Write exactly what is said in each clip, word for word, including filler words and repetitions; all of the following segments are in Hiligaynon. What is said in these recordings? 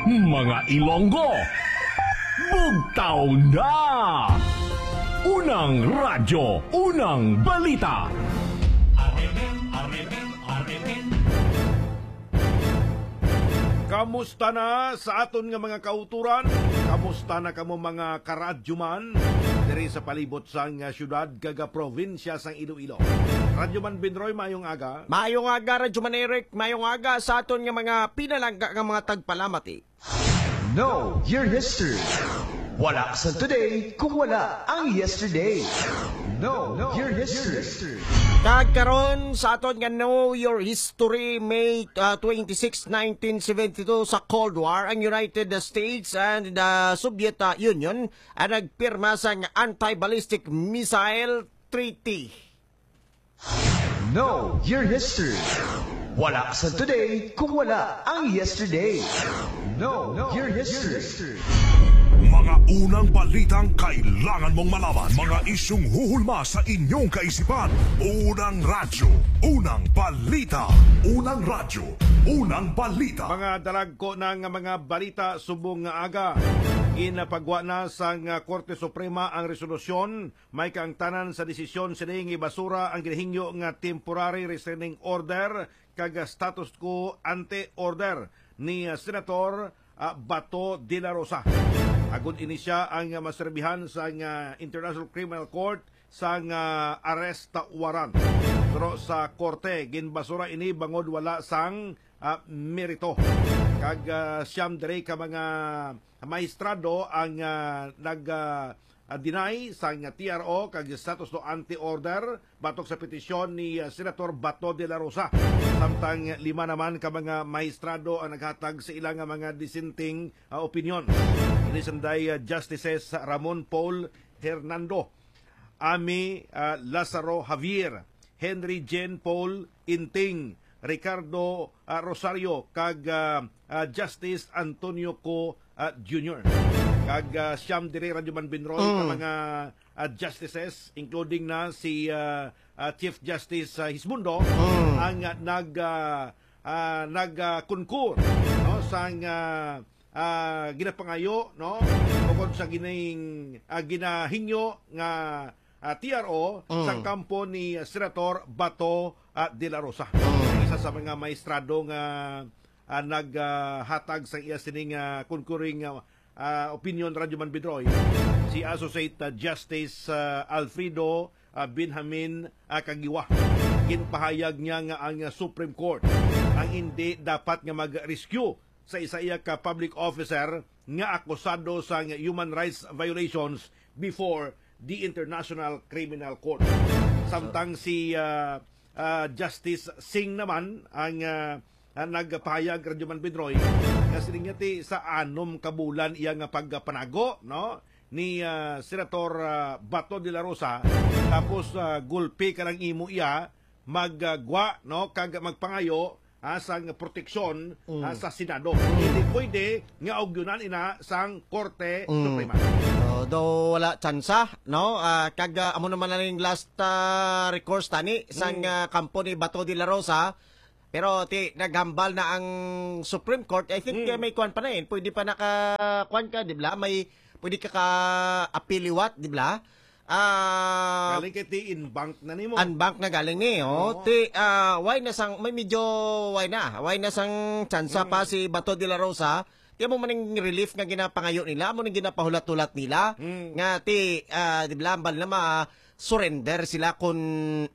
Mga Ilonggo, bugtaw na! Unang radyo, unang balita. Kamusta na sa aton nga mga kauturan? Kamusta na kamo, mga karadyoman, diri sa palibot sang, ah, syudad kag, ah, probinsya sang Iloilo? Radyoman Binroy, maayong aga. Maayong aga, Radyoman Eric. Maayong aga sa aton nga mga pinalangga nga mga tagpalamati. Know your history. Wala sa today kung wala ang yesterday. Know your history. Kag karon sa aton nga Know Your History, May, ah, twenty-six, nineteen seventy-two, sa Cold War, ang United States and the Soviet, ah, Union ang nagpirma sang Anti-Ballistic Missile Treaty. Know your history. Wala sa today kung wala ang yesterday. Know your history. Mga unang balitang kailangan mong malaman. Mga isyung huhulma sa inyong kaisipan. Unang radyo, unang balita. Unang radyo, unang balita. Mga dalagko na nga mga balita subong nga aga. Ginapagwa na sang, ah, Korte Suprema ang resolusyon may kaangtanan sa desisyon sini nga ibasura ang ginahingyo nga temporary restraining order kag status quo ante order ni, ah, Senator, ah, Bato de la Rosa. Agod ini sia ang, ah, maserbihan sang, ah, International Criminal Court sang, ah, arrest warrant. Pero sa korte, ginbasura ini bangod wala sang, ah, merito. Kag, ah, siyam diri ka mga maestrado ang, ah, nag, ah, ah, deny sang T R O kag status quo ante order batok sa petisyon ni, ah, Senator Bato de la Rosa. Samtang lima naman ka mga maestrado ang naghatag sa ila nga mga dissenting, ah, opinion. Ini sanday, ah, Justices Ramon Paul Hernando, Amy, ah, Lazaro Javier, Henry Jean Paul Inting, Ricardo, ah, Rosario, kag, ah, ah, Justice Antonio Co, ah, Junior. Kag, ah, siyam diri, Radyoman Binroy, ka Mm. mga, ah, justices, including na si, ah, ah, Chief Justice, ah, Hismundo, Mm. ang, ah, nag, ah, ah, nag, ah, concur, no, sang, ah, ah, ginapangayo, no, tungod sa gining, ah, ginahingyo nga, ah, T R O sa Mm. kampo ni Senator Bato, ah, de la Rosa. Mm. Isa sa mga maestrado nga, ah, nag, ah, hatag sa iya sining, ah, concurring, ah, ah, opinion, Radyoman Bidroy, si Associate, ah, Justice, ah, Alfredo, ah, Benjamin, ah, Kagiwa. Ginpahayag niya nga ang, ah, Supreme Court ang hindi dapat nga mag-rescue sa isa iya ka public officer nga akusado sa human rights violations before the International Criminal Court. Samtang si, ah, ah, Justice Singh naman ang, ah, ah, nagpahayag, Radyoman Bidroy, nga siling niya ti sa anom ka bulan iya nga pagpanago, no, ni, ah, Senator, ah, Bato de la Rosa, tapos, ah, gulpi ka lang imo iya, maggwa, no, kag magpangayo, ah, sang proteksyon, Mm. ah, sa Senado. Mm. Hindi pwede nga ugyunan ina sang Korte Mm. Suprema. So, do wala tsansa, no? Ah, kag, ah, amo naman na ning last, ah, recourse tani sang, Mm. ah, kampo ni Bato de la Rosa. Pero ti naghambal na ang Supreme Court. I think, Mm. ah, may kuwan pa na yun. Pwede pa naka, kuwan ka, di ba? May, pwede ka ka-appeal liwat, di ba? Ah, Galing kay ti in bank na nimo. Unbank na galing ni, oh. Oo. Ti, ah, why na sang, may medyo, why na? Why na sang tsansa pa Mm. si Bato de la Rosa? Ti amo man ang relief nga ginapangayo nila, amo nang ginapahulat-hulat nila. Mm. Nga ti, ah, di ba, hambal na ma-surrender sila kung,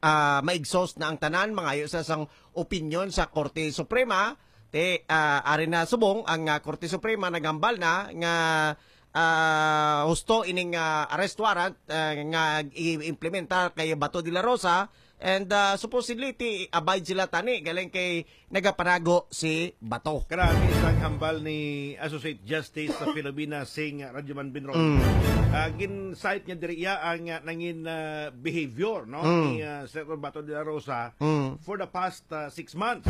ah, ma-exhaust na ang tanan, mangayo sa sang opinion sa Korte Suprema. Ti, ah, ari na subong ang, ah, Korte Suprema naghambal na nga, ah, husto ining, ah, arrest warrant, ah, nga i-implementar kay Bato de la Rosa. And, ah, supposedly, ti abide sila tani, galing kay nagapanago si Bato. Karami sang hambal ni Associate Justice sa Filomena Singh, Radyoman Binron. Mm. Ah, gin-cite niya diri iya ang, ah, nangin, ah, behavior, no, Mm. ni, ah, Senator Bato de la Rosa Mm. for the past, ah, six months.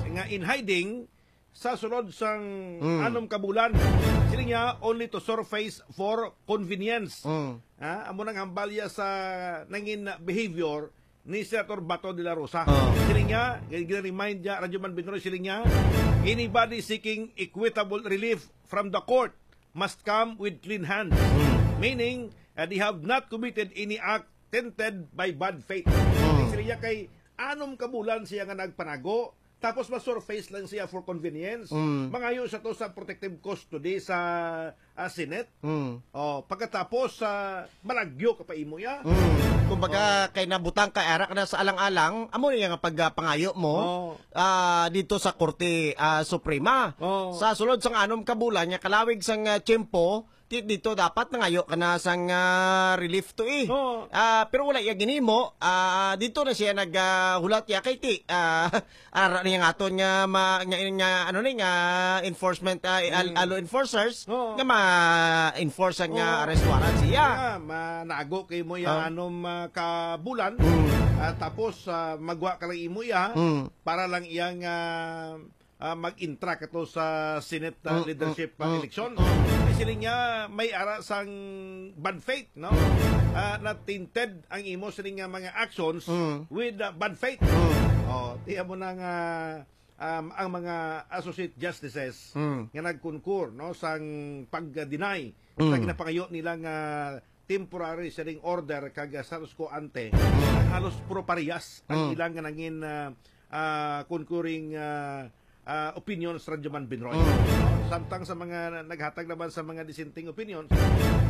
Nga in hiding, sa sulod sang Mm. anom ka bulan. Sila niya, only to surface for convenience. Mm. Ha? Amo nang hambalya sa nangin behavior ni Senator Bato de la Rosa. Oh. Sila niya, gina-remind niya, Radyoman Binroy, sila niya, Anybody seeking equitable relief from the court must come with clean hands. Mm. Meaning, uh, they have not committed any act tainted by bad faith. Mm. Sila kay anom ka bulan siya nga nagpanago, tapos ma-surface lang siya for convenience. Mm. Mangayo siya to sa protective custody sa, ah, Senate. Mm. Oh, pagkatapos, ah, malagyo ka pa imo ya. Mm. Kumbaga, Oh. kay nabutang ka, ara ka na sa alang-alang, amo niya nga pagpangayo mo, Oh. ah, dito sa Korte, ah, Suprema. Oh. Sa sulod sang anom ka bulan, nga kalawig sang, ah, tiyempo, ti-, dito dapat nangayo ka na sang, ah, relief to eh. Oo. Ah, pero wala iya ginhimo. Ah, dito na siya nag, ah, hulat ya kay ti, ah, ara niya nga aton nga ma-, nga, nga, ano ni, nga enforcement, ah, al-, Mm. alo enforcers Oo. nga ma-enforce ang, ah, Oo. arrest warrant siya. Yeah, manago kay mo ya Ah. anom, ah, ka bulan. Mm. Ah, tapos, ah, magwa ka lang imo iya Mm. para lang iyang, ah, ah, mag-intra kato sa Senate, ah, Mm, leadership, mm, ah, mm, election. mm. Kay siling niya may ara sang bad faith, no? Mm. Ah, na tainted ang imo siling nga mga actions Mm. with, ah, bad faith. Mm. Oh, tiya mo na nga, um, ang mga associate justices Mm. nga nagkonkur, no, sang pag-deny sa Mm. ginapangayo nila nga temporary siling order kag, ah, status quo ante, Mm. halos puro parehas ang Mm. ilang nga nangin, ah, ah, concurring, ah, ah, opinions, Radyo Man Binroy. Mm. No? Samtang sa mga naghatag naman sa mga dissenting opinions,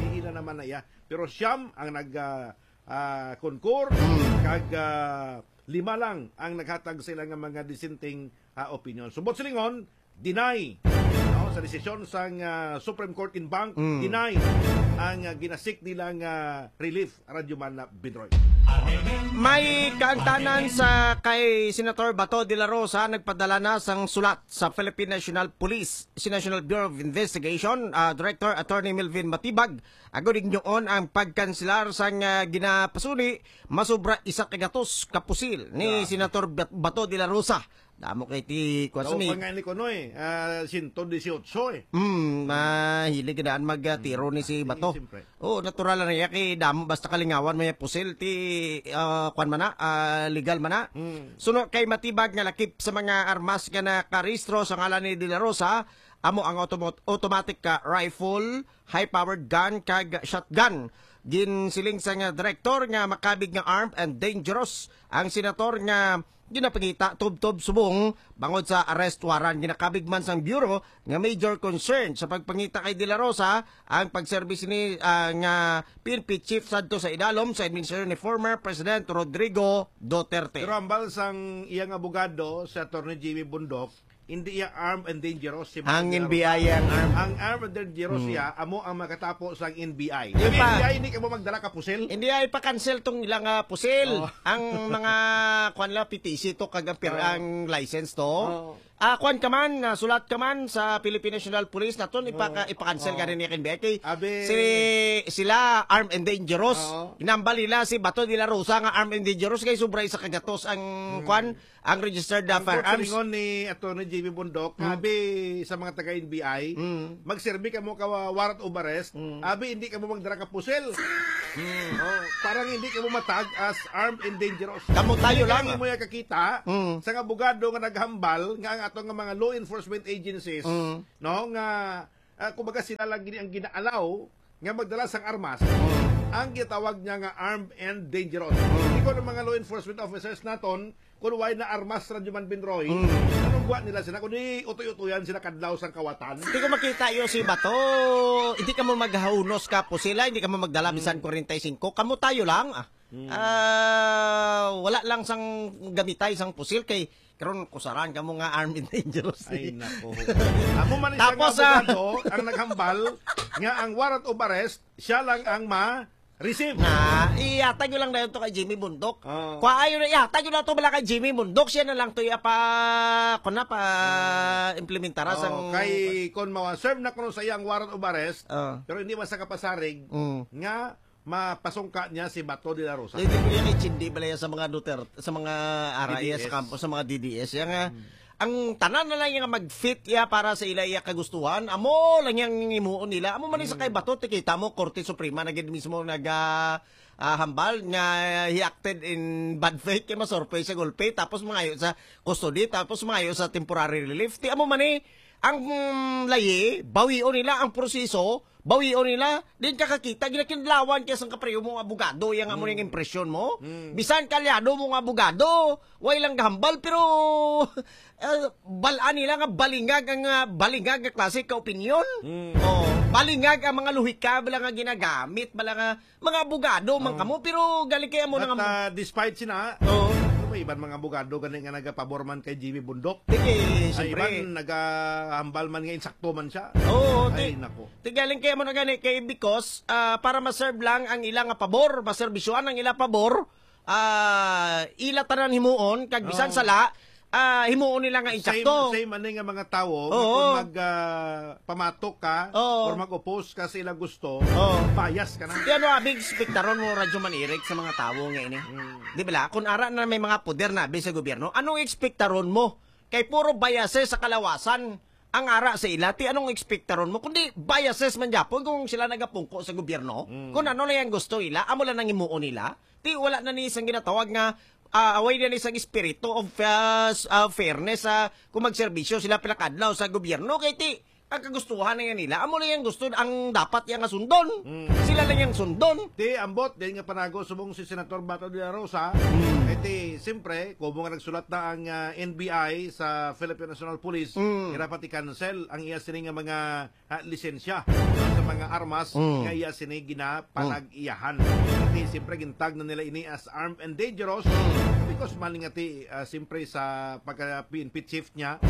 ila naman na iya. Pero siyam ang nag, ah, ah, concur, Mm. kag, ah, lima lang ang naghatag sa ila nga mga dissenting, ah, opinion. Subot silingon, deny, no, sa desisyon sang, ah, Supreme Court en banc, Mm. deny ang, ah, ginasik nila nga relief, Radyo Man Binroy. May kaangtanan sa kay Senator Bato de la Rosa nagpadala na sang sulat sa Philippine National Police, sa National Bureau of Investigation, ah, Director Attorney Melvin Matibag, agod ignoon ang pagkanselar sang, ah, ginapasuni masubra isa ka gatos ka pusil ni Grabe. Senator Bat-, Bato de la Rosa. Damo kay ti, kuwan sa Daw mi- pa nga ni kuno eh, ah, sento dieciocho eh. Mm, mahilig na daan mag, ah, tiro ni si Bato. Siyempre. Oh, natural lang niya kay damo basta kalingawan may pusil ti, ah, kuwan man na, ah, legal man na. Mm. Suno kay Matibag nga lakip sa mga armas nga nakarehistro sa ngalan ni De La Rosa, amo ang automo-, automatic ka rifle, high-powered gun, kag shotgun. Ginsiling sa nga direktor nga makabig nga armed and dangerous ang senator nga ginapangita tubtob subong bangod sa arrest warrant. Ginakabig man sang Bureau nga major concern sa pagpangita kay De La Rosa ang pagserbis ni, ah, nga P N P chief sadto sa idalom sa administrasyon ni former President Rodrigo Duterte. Pero hambal sang iyang abogado, si Attorney Jimmy Bundok, hindi iya armed and dangerous si Ang Bundok. N B I ang armed. Ang armed and dangerous Hmm. siya, amo ang makatapo sang N B I. Di Ang pa. N B I, hindi ka mo magdala ka pusil. Hindi ay pa-cancel tong ilang, ah, pusil. Oh. Ang mga, kwan lang, P T C to, kag ang pir-, Oh. ang license to. Oh. Ah, kwan ka man, ah, sulat ka man sa Philippine National Police naton, ipaka-, Oh. ipa-cancel ka Oh. rin ni N B I. Kay Abi. si-, sila armed and dangerous. Oo. Ginambal nila si Bato de la Rosa nga armed and dangerous kay sobra isa ka gatos ang Hmm. kwan, ang registered, ah, Ang firearms. Silingon ni Attorney J B Bundok, Hmm. abi sa mga taga N B I, Hmm. magserbi ka mo ka wa-, warrant of arrest, Hmm. abi hindi ka mo magdala ka pusil. Hmm. Oh, parang hindi ka mo matag as armed and dangerous. Kamo tayo Kaya lang, hindi ah. mo yan kakita Hmm. sa abogado nga naghambal nga ang ato nga mga law enforcement agencies, Hmm. no, nga, ah, kumbaga sila lang gini ang ginaalaw nga magdala sang armas. Hmm. Ang gitawag niya nga armed and dangerous. Hmm. Ikaw ng mga law enforcement officers naton, kung why na armas, Radyo Man Binroy, Hmm. anong buwan nila sila? Kung di utoy-utoyan sila kadlaw sang kawatan. Hindi ko makita yo si Bato. Hindi ka mo maghahunos ka po sila, hindi ka mo magdala Hmm. bisan forty-five. Kamo tayo lang, ah. Hmm. Ah, wala lang sang gamitay sang pusil kay karon kusaran kamo nga armed and dangerous. Ay, nako. Amo man isang Tapos, ah, abogado ang naghambal nga ang warrant of arrest, siya lang ang ma-receive. Na, ihatag nyo lang na yun to kay Jimmy Bundok. Oo. Kwa ayo na, ihatag nyo lang to bala kay Jimmy Bundok. Siya na lang to iapa, kung na pa, Oo. implementara Oo, sang kay, kung mawa-serve na kuno sa iyang warrant of arrest, Oo. pero hindi man sa kapasarig, Mm. nga mapasungka niya si Bato de la Rosa. Hindi ko yan intindi bala yan sa mga Duterte, sa mga R I S, D D S. Sa kampo, sa mga D D S. Yan nga, Hmm. ang tanan na lang nga mag-fit iya para sa ila iya kagustuhan, amo lang yang himuon nila. Amo man ni sa kay Bato, ti kita mo, Korte Suprema na gid mismo nag, ah, ah, hambal nga he acted in bad faith kay masurprise sa gulpi, tapos mangayo sa custody, tapos mangayo sa temporary relief. Ti amo man ni ang, mm, layi, bawion nila ang proseso, bawion nila, din ka kakita, ginakinlawan kaya sang kapareho mo nga abogado, yang amo ning impresyon mo. Bisan kalyado mo nga abogado, way lang gahambal, pero, ah, balaan nila nga balingag ang, ah, balingag nga klase ka opinyon. Oh, balingag ang mga luhika, bala nga ginagamit, bala nga mga abogado man kamo, pero galing kay amo na But, nga ah, despite sina, Oo. may iban mga abogado gani nga nagapabor man kay Jimmy Bundok. Sige, Ay, siyempre. iban nagahambal man nga insakto man siya. Oo, Ay, ti-, nako. ti galing kay amo na gani kay because, ah, para ma-serve lang ang ila nga pabor, maserbisyohan ang ila pabor, ah, ila tanan himuon, kag bisan Oo. sala, ah, himuon nila nga Same, insakto. same ani nga mga tawo, Oo. kung mag, ah, pamatok ka Oo. or mag-oppose ka sa ilang gusto, Oo. bias ka na. Di ano, abi, ekspektaron mo, Radyo Man Eric, sa mga tawo nga ini? Mm. Di ba la? Kung ara na may mga poder na abi sa gobyerno, anong ekspektaron mo? Kay puro biases sa kalawasan ang ara sa ila. Ti anong ekspektaron mo? Kundi biases man gyapon kung sila nagapungko sa gobyerno. Mm. Kung ano lang ang gusto nila, amo lang ang himuon nila. Ti wala na ni isang ginatawag nga, ah, away na ni isang espiritu of, ah, s-, ah, fairness, ah, kung magserbisyo sila pila ka adlaw sa gobyerno. Kay ti, ang kagustuhan na yan nila, amo na yang gusto, ang dapat yang sundon. Mm. Sila lang yang sundon. Ti, ambot, din nga panago subong si Senator Bato de la Rosa, Mm. eh, ti, siyempre, kumo nga nagsulat na ang, ah, N B I sa Philippine National Police, Mm. ira pati cancel ang iya sini nga mga, ah, lisensya sa mga armas Mm. nga iya sini ginapanag-iyahan. Ti, siyempre, gintag na nila ini as armed and dangerous because man nga ti, ah, siyempre sa pagka-P N P chief niya,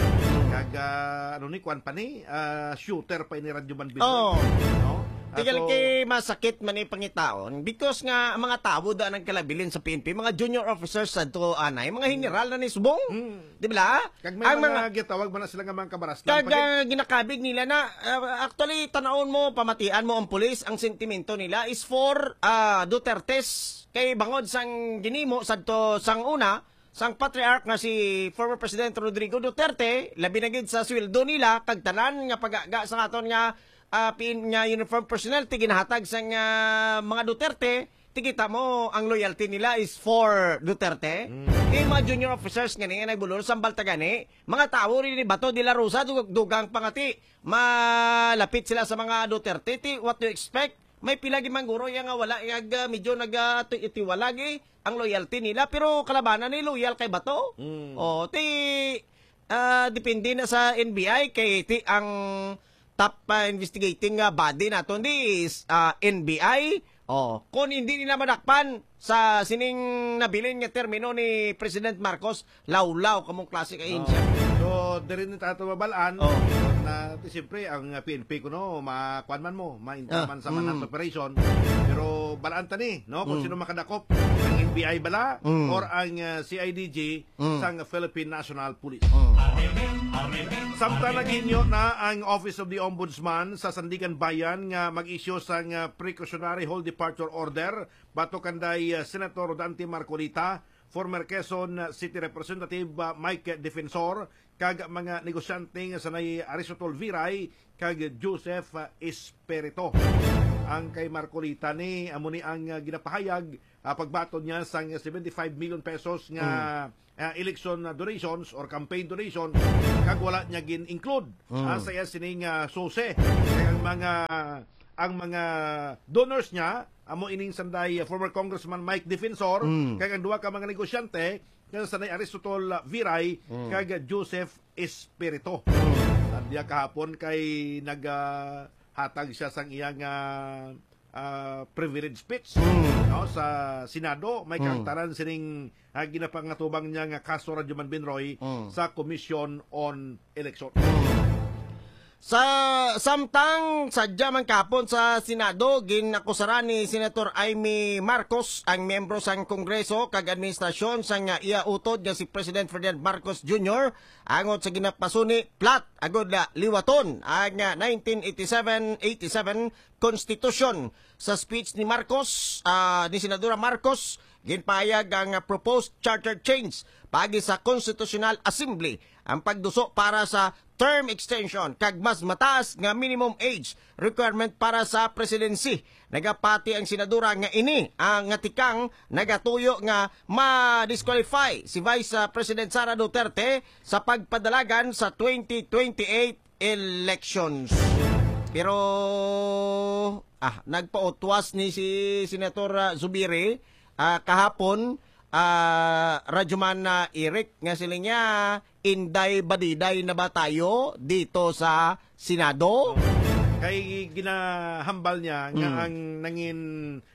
kag, ah, ano ni, kuwan pa ni, ah, shooter pa ini Radyo Man Binoy. Oo. No? Ah, Tigal so, kay masakit man ni pangitaon because nga ang mga tawo da nagkalabilin sa P N P, mga junior officers sa to anay, mga general na ni subong. Mm. Di ba? Kag may Ang mga mga gitawag man na sila nga mga kabarastan Kag pa gid. ah, ginakabig nila na, ah, actually, tanaon mo, pamatian mo ang pulis, ang sentimento nila is for, ah, Dutertes. Kay bangod sang ginimo sadto sang una, sang patriarch nga si former President Rodrigo Duterte, labi na gid sa sweldo nila, kag tanan nga pagaga sa aton nga, ah, pin-, nga uniform personnel, ti ginahatag sang, ah, mga Duterte, ti kita mo, ang loyalty nila is for Duterte. Mm. Ti mga junior officers nga ni, nga nagbulol, sambal ta gani, mga tawo rin ni Bato de la Rosa, dug-, dugang pa nga ti, malapit sila sa mga Duterte, ti, what do you expect? May pila gid man guro iya nga wala, nga, ah, medyo nag, ah, ti-, tiwala gi ang loyalty nila, pero kalabanan ni loyal kay Bato. Mm. Oh, ti, ah, depende na sa N B I kay ti ang top, ah, investigating, ah, body naton di is, ah, N B I. Oh, kung hindi nila madakpan sa sining nabilin nga termino ni President Marcos, lawlaw kamong klase ka Oh. ahensya. So, diri ni tato mabalaan Oh. na ti siyempre ang, ah, P N P kuno makuan man mo, mainta Ah, man sa mm. manhunt operation. Pero balaan ta ni, no, kung Mm. sino makadakop, ang N B I bala Mm. or ang, ah, C I D G Mm. sang Philippine National Police. Mm. Samtang naghinyo na ang Office of the Ombudsman sa Sandiganbayan nga mag-issue sang, ah, precautionary hold departure order batok kanday, ah, Senator Dante Marcoleta, former Quezon City Representative, ah, Mike Defensor, kag mga negosyante nga sanay Aristotle Viray kag Joseph, ah, Espirito. Ang kay Marcoleta ni, amo ni ang, ah, ginapahayag, ah, pagbaton niya sang seventy-five million pesos nga, Mm. ah, election, ah, donations or campaign donations, kag wala niya gin-include, Mm. ah, sa iya sining, ah, sose. Kay ang mga, ang mga donors niya, amo ining sanday, ah, former Congressman Mike Defensor, Mm. kag ang duha ka mga negosyante, nga sanday Aristotle, ah, Viray, Mm. kag Joseph Espirito. Mm. Sa diya kahapon kay nag, ah, hatag siya sang iyang, ah, ah, privilege speech, Mm. no, sa Senado. May Mm. kaangtaran sining, ah, ginapangatubang niya nga kaso, Radyo Man Binroy, Mm. sa Commission on Election. Mm. Sa samtang sadya man kahapon sa Senado, ginakusaran ni Senator Imee Marcos ang miyembro sang Kongreso kag administrasyon sang, ah, iya utod nga si President Ferdinand Marcos Junior angot sa ginapasuni plat agud na liwaton ang, ah, nineteen eighty-seven eighty-seven Constitution. Sa speech ni Marcos, ah, ni Senadora Marcos, Ginpahayag ang, ah, proposed charter change paagi sa Constitutional Assembly ang pagduso para sa term extension kag mas mataas nga minimum age requirement para sa presidency. Nagapati ang senadora nga ini ang nga tikang nagatuyo nga ma-disqualify si Vice, ah, President Sara Duterte sa pagpadalagan sa twenty twenty-eight elections. Pero, ah, nagpautwas ni si Senator, ah, Zubiri, ah, kahapon, ah, Radyoman, ah, Eric, nga sila niya, inday badiday na ba tayo dito sa Senado? Kay ginahambal niya nga Mm. ang nangin,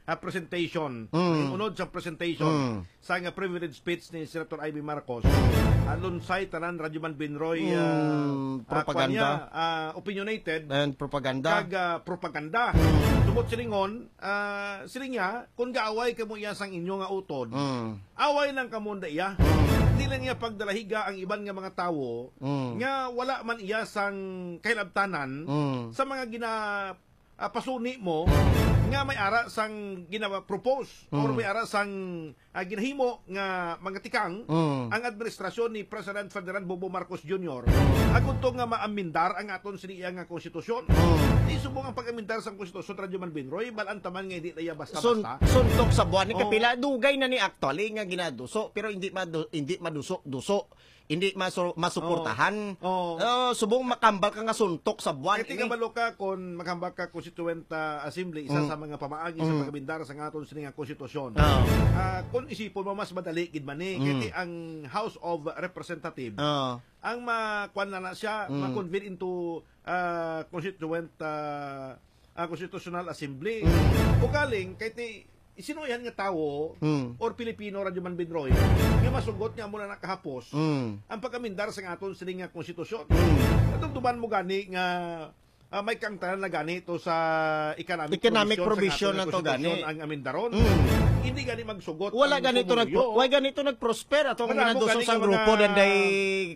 ah, presentation, Mm. nangin unod sa presentation Mm. sa nga privilege speech ni Senator Imee Marcos, ah, lunsay tanan Radyoman Binroy, ah, Mm, ah, propaganda. Kwan niya, ah, opinionated And propaganda. Kag, ah, propaganda. Mm. Tungod silingon, ah, siling niya, kung gaaway kamo iya sang inyo nga utod, Mm. away lang kamo nda iya. Mm. Dili lang niya pagdalahiga ang iban nga mga tawo Mm. nga wala man iya sang kahilabtanan Mm. sa mga gina-, ah, pasuni mo Mm. nga may ara sang gina-propose or Mm. may ara sang, ah, ginahimo nga mga tikang Mm. ang administrasyon ni President Ferdinand Bongbong Marcos Junior Mm. agud to nga maamendar ang aton sini iya nga konstitusyon. Mm. Di subong ang pag-amendar sang konstitusyon, Radyoman Binroy, balaan taman nga hindi na iya Sun-, basta-basta. Suntok sa buwan ni Oh. kapila. Dugay na ni actually nga ginaduso, pero hindi madu-, hindi maduso-duso. Hindi masu-, masuportahan. Oh. Oh, subong makambal ka nga suntok sa buwan Kaya ini. Tingabalo ka kung maghambal ka Constituent, ah, Assembly, isa Mm. sa mga pamaagi sa Mm. pagkabindar sa aton sini nga konstitusyon. Oh. Ah, kung isipon mo, mas madali gid man ni. Kaya Mm. ti ang House of Representative, Oh. ang ma-, kwan na na siya, Mm. ma-convene into, ah, Constituent, ah, ah, Constitutional Assembly. Mm. Ugaling, kay ti, sinuihan nga tawo Mm. or Pilipino, Radyoman Binroy, nga masugot nga amo na nakahapos Mm. ang pag-amendar sa aton sini nga konstitusyon. Mm. Katong tuman mo gani nga, ah, may kangtanan na gani to sa economic Economic provision provision sa na to konstitusyon gani. ang amendaron. Mm. Hindi gani magsugot Wala ang gani to pumuluyo. nagpro-, wala gani to nagprosper ato ang Wala mo ginaduso gani sa nga grupo mga danday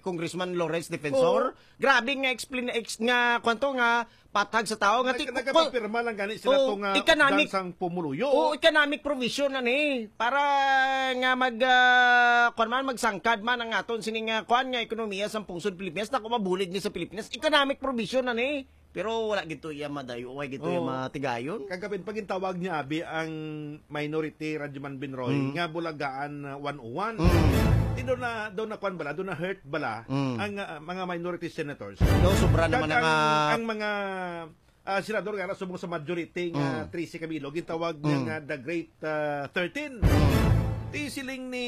Congressman Lawrence Defensor. Oo. Grabe nga explain, ex-, nga kwanto nga patag sa tao nga Nag-, ti-, nagapapirma lang gani sila Oh, to nga economic, updan sang pumuluyo. Oh, economic provision na ni. Para nga mag, ah, kwan man, magsangkad man ang aton sini nga kwan nga ekonomiya sa pungsod Pilipinas, na kung mabulig ni sa Pilipinas, economic provision na ni. Pero wala gito iya madayo, wala gito iya Oh. matigayon. Kagabin, pag gintawag niya, abi, ang minority, Radyoman Binroy, Mm. nga Bulagaan, uh, one oh one. Mm. Di daw na, daw na kwan bala, daw na hurt bala Mm. ang, uh, mga minority senators. Daw sobra Kag naman ang, ang, ang mga, uh, senador nga subong sa majority nga Mm. trese ka bilog, gintawag niya Mm. nga the Great, uh, thirteen. Mm. Di siling ni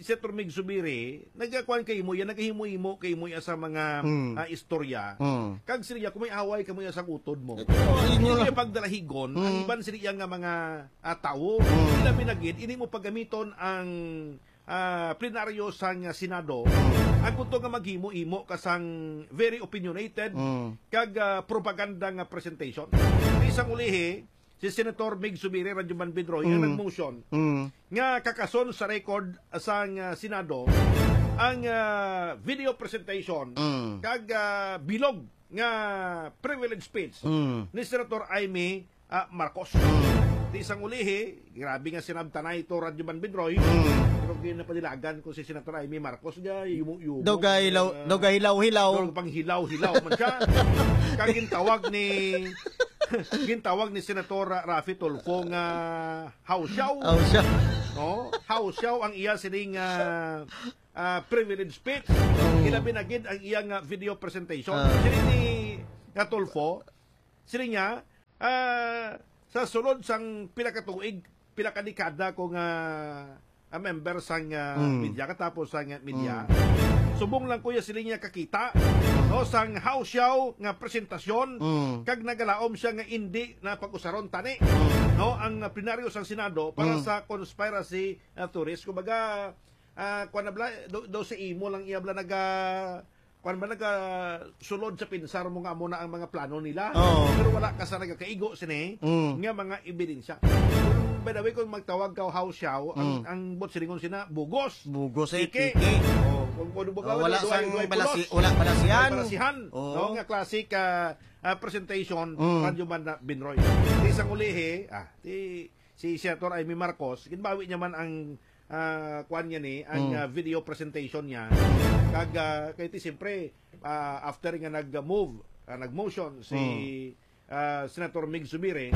Senator Mig Zubiri, nagkakuan kay mo yan, naghimo-himo kay mo yan sa mga, Mm. uh, istorya. Mm. Kag siling niya, kung may away ka mo yan sa utod mo. Ito, inyo Hindi lang. niya pagdalahigon, ang Mm. iban siling niya nga mga ah, tawo. Mm. Ilabi na gid, ini mo paggamiton ang, ah, plenaryo sang, ah, Senado. Mm. Ang kuto nga maghimo-himo ka sang very opinionated Mm. kag, ah, propaganda nga presentation. Isang ulihi, si Senator Mig Zubiri, Radyoman Binroy, ang Mm. nag-motion Mm. nga kakason sa record sang, ah, Senado ang, ah, video presentation Mm. kag, ah, bilog nga privilege speech Mm. ni Senator Imee ah, Marcos. Mm. Di sang ulihi, grabe nga sinabtanay to, Radyoman Binroy. Mm. Pero ginapadilagan ko si Senator Imee Marcos, ga, yumo-yumo. Daw gahilaw, Ah, daw gahilaw-hilaw. Daw panghilaw-hilaw man siya. Kag gintawag ni, gintawag ni Senator Ra-, Raffy Tulfo nga hawsyaw. Hawsyaw. No? Hawsyaw ang iya sining, ah, ah, privilege speech. Oh. Ilabi na gid ang iya nga video presentation. Ah. Sini ni nga Tulfo, sini niya, Ah, sa sulod sang pila ka tuig, pila ka dekada ko nga, ah, member sang, ah, Mm. media, katapos sang, ah, media, Mm. subong lang ko ya sila niya kakita, no, sang hawsyaw nga presentasyon, Mm. kag nagalaom siya nga indi na pag-usaron tani, Mm. no, ang, ah, plenaryo sang Senado para Mm. sa conspiracy, ah, theories. Kumbaga, ah, kuwan na bala, do, do sa imo lang iya bala naga, kuwan ba, nagasulod sa pinsar mo nga amo na ang mga plano nila. Oo. Pero wala ka sa nagakaigo sini Mm. nga mga ebidensya. Kung, by the way, kung magtawag ka hawsyaw, ang, Mm. ang bot silingon sina, bugos. Bugos, eh, Piki. piki. Oh, kung, kung Oh, wala sang balasi-, wala balasihan. Wala balasihan. Oo. No, nga classic, ah, ah, presentation, Mm. Radyoman Binroy. Di sang ulihi, ah, di, si Senator Imee Marcos, ginbawi niya man ang, ah, kuwan niya ni, ang, Mm. ah, video presentation niya. Kag, ah, kay ti, siyempre, ah, after nga nag-move, ah, nag-motion si, Mm. ah, Senator Mig Zubiri,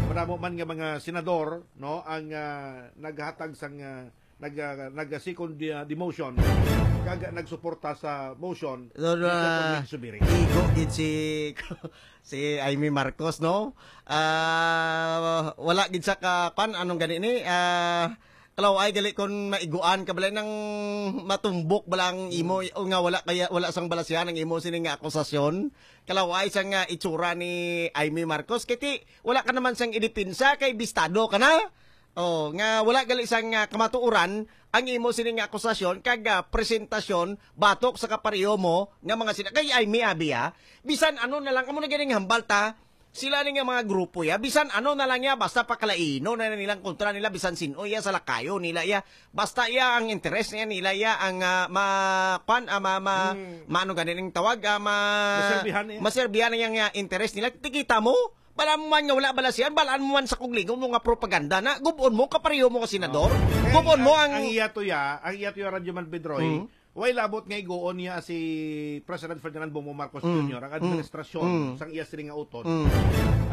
madamo man nga mga senador, no, ang, ah, naghatag sang, ah, nag, ah, nag-second, ah, demotion, kag nagsuporta sa motion No, ni Senator ah, Mig Zubiri. Igo gid si, si Imee Marcos, no? Ah, wala gid sa ka, kwan, anong gani ni? Ah, kalaw-ay gali kon maiguan ka, balay nang matumbok bala ang imo, Mm. o nga wala kaya, wala sang balasihan ang imo sini nga akusasyon. Kalaw-ay sang, ah, itsura ni Imee Marcos. Kay ti, wala ka naman sang idepensa kay bistado ka na. Oh, nga wala gali sang, ah, kamatuoran ang imo sini nga akusasyon kag, ah, presentasyon batok sa kapareho mo nga mga sina-, kay Imee abi, ah. Bisan ano na lang, amo na ganing hambal ta, sila ni nga mga grupo ya, bisan ano na lang ya, basta pakalaino na nilang kontra nila, bisan sin-o ya, sa lakayo nila ya, basta ya ang interes niya nila ya, ang, ah, ma-, kwan, ah, ma-, ma-, Mm. maano gani ning tawag, ah, ma-, Maserbihan niya. maserbihan niya nga interes nila. Tikita mo, bala mo man nga wala balasihan, balaan mo man sa kuglingon mo nga propaganda na, gubon mo, kapareho mo nga senador, Oh. Kaya gubon ang, mo ang ang iya to ya, ang iya to ya, Radyo Man Pedroy, Mm. Way labot nga iguon niya si President Ferdinand Bongbong Marcos Mm. Junior ang Mm. administrasyon Mm. sang iya sini nga utod. Mm.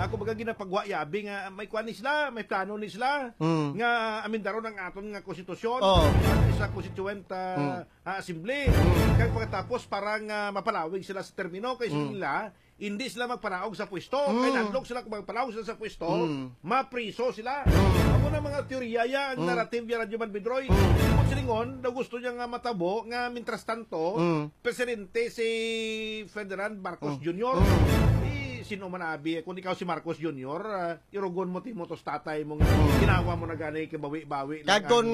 Ako baga ginapagwa yabi nga may kuan ni sila, may plano ni sila Mm. nga amendaron ang aton nga konstitusyon Oh. at sa constituent, ah, Mm. ah, assembly. Mm. Kag pagkatapos para nga mapalawig sila sa termino kay Mm. sila hindi sila magpanaog sa pwesto. Mm. Kay nadlok sila kung magpanaog sila sa pwesto, Mm. mapriso sila. Mm. Amo na mga teorya ya, ang Mm. narrative ya, Radyo Man Bidroy. Mm. Kung silingon, daw gusto niya nga matabo nga, mientras tanto, Mm. presidente si Ferdinand Marcos Mm. Junior. Mm. Eh, sino man abi? Kung ikaw si Marcos Junior, ah, irugon mo, timo to sa tatay mo nga Mm. ginawa mo na gani, kabawi-bawi lang Kag ang, kun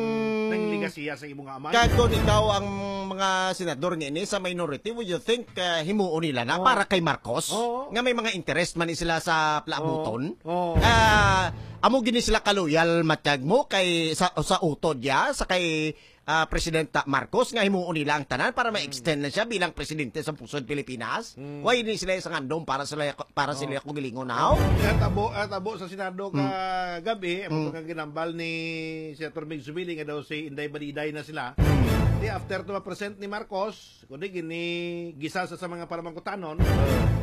ang legasiya sa imo nga amay. Kag kun ikaw ang mga senador nga ini sa minority, would you think, ah, himuon nila na Oo. para kay Marcos? Oo. Nga may mga interest man ni sila sa plabuton? Oo. Oo. Ah, amo gini sila kaloyal, matyag mo, kay sa, sa utod ya, sa kay, ah, Presidenta Marcos, nga himuon nila ang tanan para Mm. ma-extend na siya bilang presidente sa pusod Pilipinas? Mm. Why ni sila sa ngandong para sila, para Oh. sila kugilingon, haw? Ang tabo, ang tabo sa Senado Mm. kagabi, ang Mm. mga ginambal ni Senator Mig Zubiri nga daw si Inday Badiday na sila. Mm. Di after to ma-present ni Marcos, kundi gini gisa sa, sa mga palamangkutanon,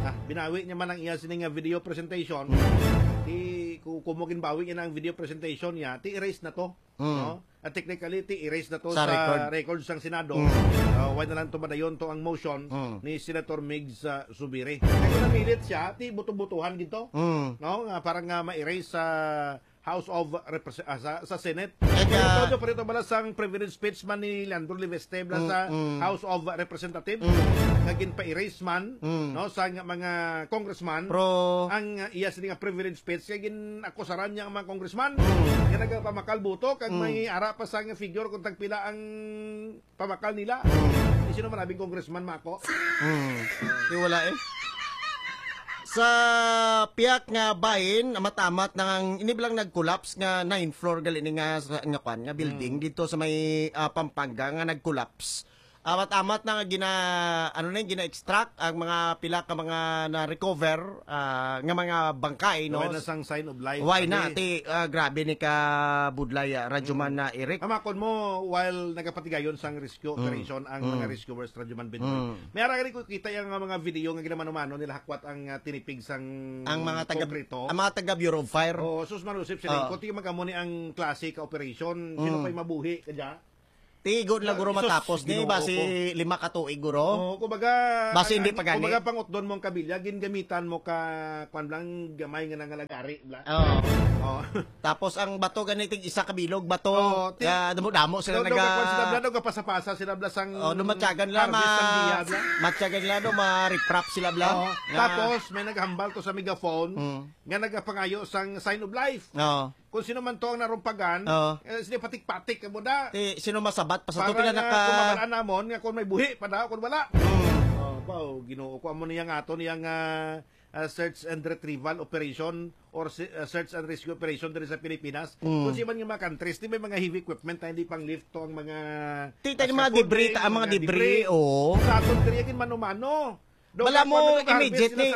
ah, binawi niya man ang iya sini nga video presentation. Mm. Di ku-, kumo ginbawi niya na ang video presentation niya, ti erase na to, Mm. no? At technically, ti erase na to Sa sa record. record sang Senado. Mm. Ah, wala na lang to madayon to ang motion Mm. ni Senator Migs, ah, Zubiri. Kung namilit siya, ti buto-butuhan gid to. Mm. No? Nga para nga ma-erase sa House of Repres-, ah, sa, sa Senate. Kaya Pero ito, ito, bala sang privilege speech man ni Leandro Leviste, bala Mm, sa mm. House of Representatives, Mm. nga ginpa-erase man, Mm. no, sa nga mga congressman, Pro- ang, ah, iya sini nga privilege speech, kay gin-akusaran niya ang mga congressman, Mm. nga nagapamakal buto, kag Mm. may ara pa sa nga figure kung tagpila ang pamakal nila. Mm. Di sino man abi congressman, Mako? Mm. Di wala eh. Sa piyak nga bahin, amat-amat na ang ini bilang nag-collapse nga nine floor gali ni nga sa, nga kwan, nga building Mm. dito sa may, ah, Pampanga nga nag-collapse. Amat-amat na nga gina-, ano na yun, gina-extract ang mga pila ka mga na-recover, ah, nga mga bangkay, no? Wala na sang sign of life. Why na? Abi. Ti, ah, grabe ni ka budlay, ah, Radyo Man Mm. na Eric. Amakon mo, while nagapatigayon sang rescue Mm. operation ang Mm. mga rescuers, Radyo Man Binroy, Mm. may ara gani ko kita yung mga video nga ginamano-mano nila hakwat ang, ah, tinipig sang Ang mga taga, konkreto. Ang mga taga Bureau of Fire. Oo, sus manusip sila. Oo. Kung tingin mag-amo ni ang klase ka operation, sino Mm. pa'y mabuhi ka dyan? Tigo na, guro, Sus, matapos ni, Ginoo basi ko. Lima ka tuig, guro. Oo, kumbaga, Basi ang, hindi ang, pa gani. Kumbaga, pangutdon mo ang kabilya, gingamitan mo ka, kwan lang, gamay nga nangalagari, bla. Oo. Oo. Tapos ang bato gani, tig isa ka bilog, bato. Oo, ti-, Kaya damo-damo sila daw, daw, naga- kwan sila, bla, daw, kapasa-pasa sila, bla, sang Oo, no, matyagan lang, harvest sang ma-, biya, bla. Matyagan lang, no, ma-riprap sila, bla. Oo. Nga Tapos, may naghambal to sa megaphone, Mm. nga nagapangayo sang sign of life. Oo. Kung sino man to ang narumpagan, Oo. eh, sila patik-patik ka mo da. Ti, sino masabat pa sa to? Para Pila nga naka- kung mabalaan namon nga kung may buhi pa da, kung wala. Mm. Oh, ba, oh, Ginoo ko, amo niya nga ato niya nga, ah, search and retrieval operation or si-, ah, search and rescue operation diri sa Pilipinas. Mm. Kung si man nga mga countries, di may mga heavy equipment na hindi pang lift to ang mga, Ti, ah, tayo mga debris, scaffolding, ta-, ang mga mga debris, debris. Oo. Sa aton diri, yung mano-mano. Bala mo, immediately,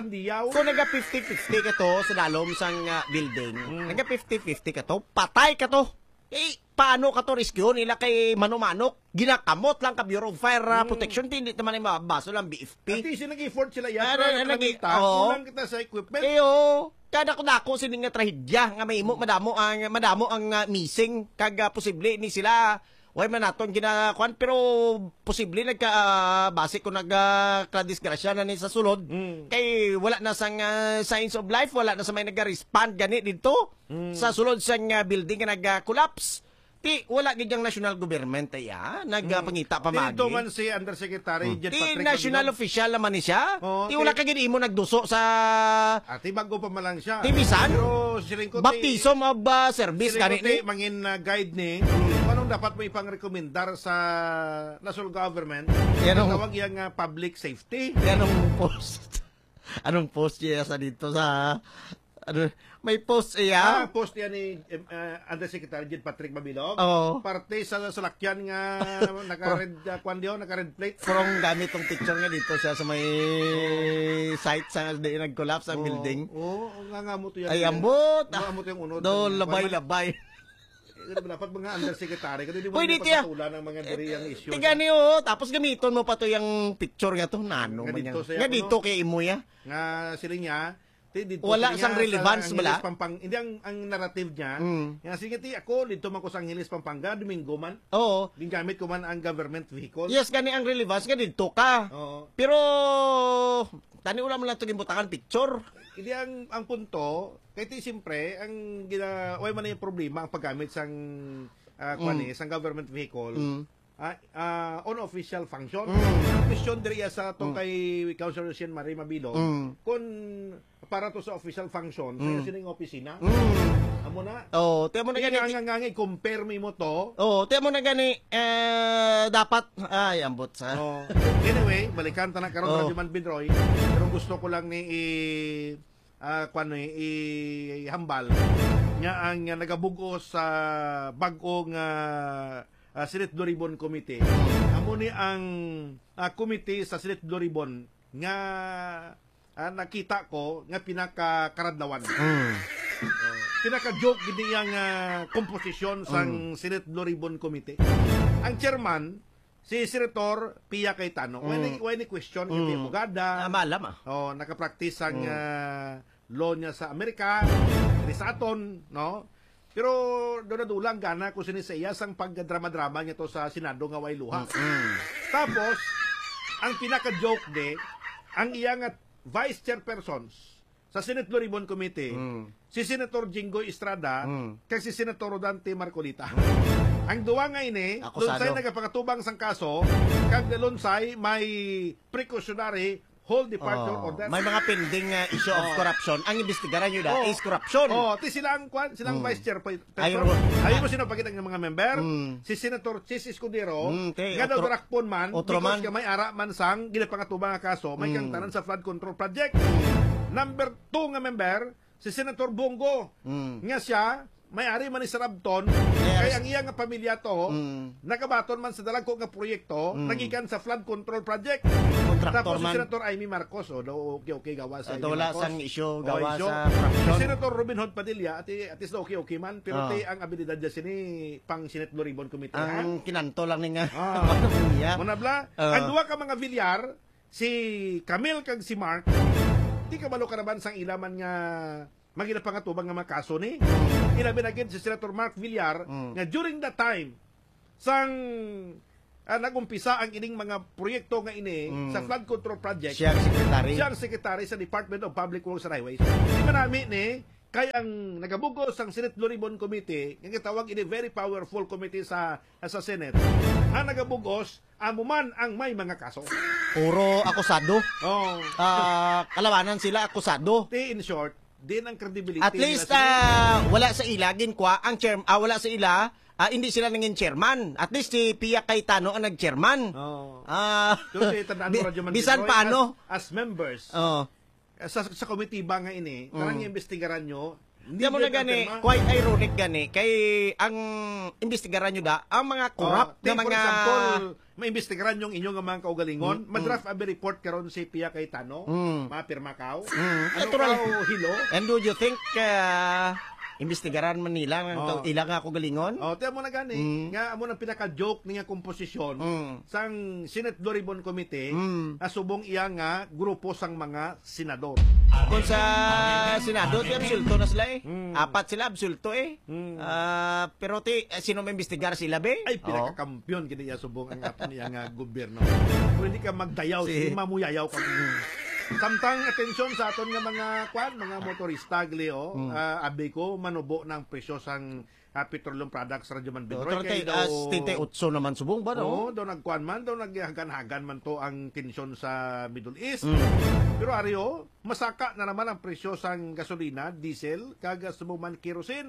kung naga fifty fifty ka to sa dalom sang, ah, building, Mm. naga fifty fifty ka to, patay ka to. Eh, paano ka to rescue nila kay mano-mano? Ginakamot lang ka Bureau of Fire, ah, Mm. Protection, hindi naman ay mabaso lang B F P. Ati, si nag-effort sila, yan. Ah, Pero na-, ang nag-, nakita, oo. Kulang kita sa equipment. Eh, oo. Kada ko dako sini nga trahedya nga mahimo, Mm. madamo ang, madamo ang, ah, missing, kag, ah, posible ni sila Way man naton ginakuan, pero posible nagka, ah, base kung nagka-, kadisgrasya na ni sa sulod. Mm. Kay wala na sang, ah, signs of life, wala na sa may naga-respond gani didto Mm. sa sulod sang, ah, building nga nag-collapse. Ti, wala gid ang national government, ay, ah, nag, ah, Mm. pangita pa Ti, magi. Ito man si Undersecretary Mm. Jet Ti, Patrick national Mabilog. Official naman ni siya. Oo, Ti, wala ti, ka gid imo nagduso sa Ati, bago pa man lang siya. Ti, bisan? Pero siling ko, ti, Baptism of, ah, service siling ko, gani ti, ni? Mangin, ah, guide ni, anong dapat mo ipang-rekomendar sa national government? Yan ang Tawag yang, ah, public safety. Yan ang post. Anong post niya sa dito sa, ano, may post iya? Ah, post niya ni, em, ah, Undersecretary Jed Patrick Mabilog. Oo. Parte sa salakyan nga naka-red, ah, kwan diyo, naka-red plate. From gamit tong picture nga dito siya sa may site sa di nag-collapse ang Oo, building. Oo, nga, nga mo to yan. Ay, ambot. Nga mo to yung unod. Do, Kwan man. Labay-labay. Eh, dapat mga undersecretary, kaya di mo Pwede tiya. Pagpatulan ang mga diri ang issue. Tiga niyo, tapos gamiton mo pa to yung picture nga to, nano Nga man dito yan. Sa Nga kuno. Dito kay imo ya. Nga sila niya, ti, dito Wala sila sang niya relevance, sa bala? Angeles, Pampang-, hindi ang, ang narrative niya. Mm. Nga sige, ti, ako, dito man ko sa Angeles, Pampanga, Domingo man. Oo. Gingamit ko man ang government vehicle. Yes, gani ang relevance nga dito ka. Oo. Pero, tani wala mo lang ito ginbutangan picture. Hindi ang, ang punto, kay ti, siyempre, ang gina-, way man yung problema ang paggamit sang, ah, kwan Mm. eh, sang government vehicle. Mm. Ah, ah, on official function. Mm. Ang question diri iya sa tong Mm. kay Councilor Jean Marie Mabilog, Mm. kung para to sa official function, Mm. kaya sining opisina. Mm. Amo na. Oh, tiyan mo na Kaya gani. Nga, nga, nga, i-compare mo imo to. Oh, tiyan mo na gani, eh, dapat, ay, ambot sa. Oh. Anyway, balikan ta na karon, Oh. Radyo Man Bidroy. Pero gusto ko lang ni i-, ah, kwan ni, i-, ihambal nga ang, nga nagabug-os sa bag-o nga, ah, Senate Blue Ribbon Committee. Amo ni ang, ah, committee sa Senate Blue Ribbon nga, ah, nakita ko nga pinakakaradlawan. Mm. Oh, pinaka-joke gid niya nga komposisyon sang Mm. Senate Blue Ribbon Committee. Ang chairman, si Senator Pia Cayetano. Why Mm. ni, why ni question kay Mm. abogada? Ah, maalam, ah. Oh, nakapractice sang, Mm. ah, law niya sa Amerika, diri sa aton, no? Pero doon na dulang gana kung sini sa iya sang pagdrama-drama niya to sa Senado nga way luha. Mm-mm. Tapos, ang pinaka-joke di, ang iya nga vice chairpersons sa Senate Blue Ribbon Committee, Mm. si Senator Jinggoy Estrada, Mm. kag si Senator Rodante Marcoleta. Mm. Ang duwa nga ini, Akusado. Lunsay nagapakatubang sang kaso, kag Lunsay may precautionary hold departure Oh, order. May mga pending, uh, issue of Oh. corruption. Ang imbestigaran nyo na Oh. is corruption. Oh, ti sila ang kwan, silang Mm. vice chair pa, Ay, Petro. ro- Ayaw mo sino pagkita ng mga member? Mm. Si Senator Chiz Escudero, Mm, te, nga daw otro-, darakpon man, otro because man. Nga may ara man sang ginapangatuba nga kaso, may Mm. kangtanan sa flood control project. Number two nga member, si Senator Bong Go, Mm. nga siya, may ari man ni Sir Abton, Yes. kay ang iya nga pamilya to, Mm. nagabaton man sa dalagko nga proyekto, Mm. nagikan sa flood control project. Contractor Tapos si man. Senator Imee Marcos, oh, daw okay, okay, gawa sa Ito Imee wala Marcos. sang issue, Oh, gawa issue. Sa corruption. Si Senator Robin Hood Padilla, ati, at least okay, okay man, pero Ah. ti ang abilidad niya sini pang Senate Blue Ribbon Committee, ha? Ang kinanto lang ni nga. Ah. Iya. Muna bla, Ah. ang duwa ka mga Villar, si Camille kag si Mark, di kabalo ka naman sang ila man nga mga ginapangatubang nga mga kaso ni. Ilabi na gid si Senator Mark Villar Mm. nga during that time, sang, ah, nag-umpisa ang ining mga proyekto nga ini Mm. sa flood control project, Siya ang secretary. Siya ang secretary sa Department of Public Works and Highways. Di ba nami ni, kay ang nagabugos sang Senate Blue Ribbon Committee, nga gitawag ini very powerful committee sa, sa Senate, ang nagabugos, amo man ang may mga kaso. Puro akusado. Oh. Ah, kalawanan sila, akusado. Ti, in short, din ang credibility At nila least, sa ah, wala sa ila, ginkwa ang chair-, ah, wala sa ila, ah, hindi sila nangin chairman. At least si Pia Cayetano ang nag-chairman. Oh. Ah, Pero si, tandaan mo, bi-, Radyo Man bisan Bidroy, paano. As, as members, Oh. sa, sa komitiba nga ini, Mm. tarang imbestigaran nyo, Hindi Kaya mo na gani, gani, pirma. Quite ironic gani, kay ang imbestigaran nyo da, ang mga corrupt Oh, na take, for mga example, maimbestigaran yung inyong mga kaugalingon, Mm, mm. Madraft abi report karon si Pia Cayetano, Mm. mapirma ka. Mm, Ano natural. ka, oh, hilo? And do you think, ah, imbestigaran man nila ang Oh. kau-, ila nga kaugalingon? Oh, tiyan mo na gani, Mm. nga amo nang pinaka-joke niya komposisyon Mm. sang Senate Blue Ribbon Committee Mm. na subong iya nga grupo sang mga senador. Kung sa Senado, ti absulto na sila eh. Mm. Apat sila absulto eh. Mm. Ah, pero ti, eh, sino maimbestigar sila, be? Ay, Oh. pinakakampiyon gid niya subong ang aton niya nga gobyerno. Kung hindi ka magdayaw, Si si mamuyayaw ka. Samtang atensyon sa aton nga mga kwan, mga motorista, gali, oh. Mm. Ah, abi ko, manubo na ang presyo sang, ah, petroleum products, Radyo Man Oh, Binroy, kay thirty, ah, daw setenta y ocho naman subong ba, no? Oo, daw nagkuan man, daw naghagan-hagan man to ang tensyon sa Middle East. Mm. Pero ari, oh, masaka na naman ang presyo sang gasolina, diesel, kag subong man kerosene.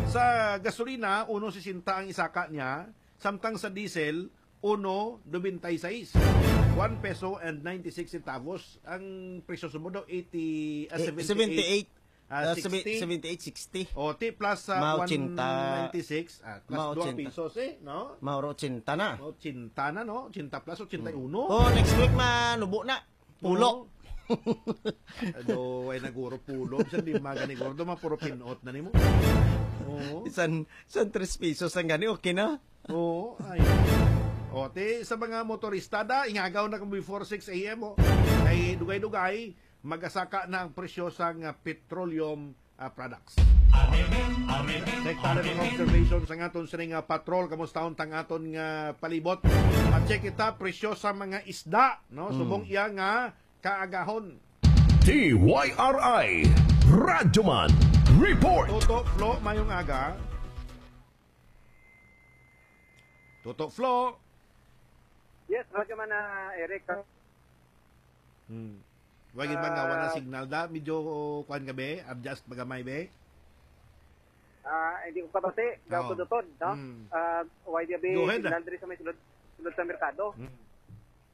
Sa gasolina, uno sesenta ang isaka niya, samtang sa diesel, uno nobenta y seis. One peso and ninety-six centavos. Ang presyo subong daw, eighty, ah, Eh, seventy-eight. seventy-eight. Ah, Ah, sixty. Seventy-eight sixty. O, ti plus sa Mga ochenta. One ninety-six, ah, plus Mga dua ochenta. pesos eh, no? Mga ochenta na. Ochenta na, no? Ochenta plus, ochenta y uno. Oh, next week, manubo na. Pulo. Oo. Ado, ay naguro pulo. Bisan di magani guro, do, mapuro pinot na nimo. Oo. San, san tres pesos ang gani, okay na? Oo, ay. O, ti, sa mga motorista da, ingagaw na kamo before six A M, oh. Kay dugay-dugay, magasaka na ang presyo sang, ah, petroleum, ah, products. Next, tala ng observation sa aton sining, ah, patrol. Kamusta ang aton nga palibot? Pa-check kita, presyo sa mga isda, no? Mm. Subong iya nga kaagahon. D Y R I Radyoman Report. Toto, Flo, mayong aga. Toto, Flo. Yes, Radyoman, ah, Eric. Hmm. Wa gid ba nga wala Ah. signal da? Medyo, oh, kuwan ka, be? Adjust pa gamay, be? Ah, hindi ko kabati. Oo. Gaw ko dutod, no? Hmm. Ah, why di abi Go ahead, signal ah. diri sa may sulod, sulod sa merkado? Hmm.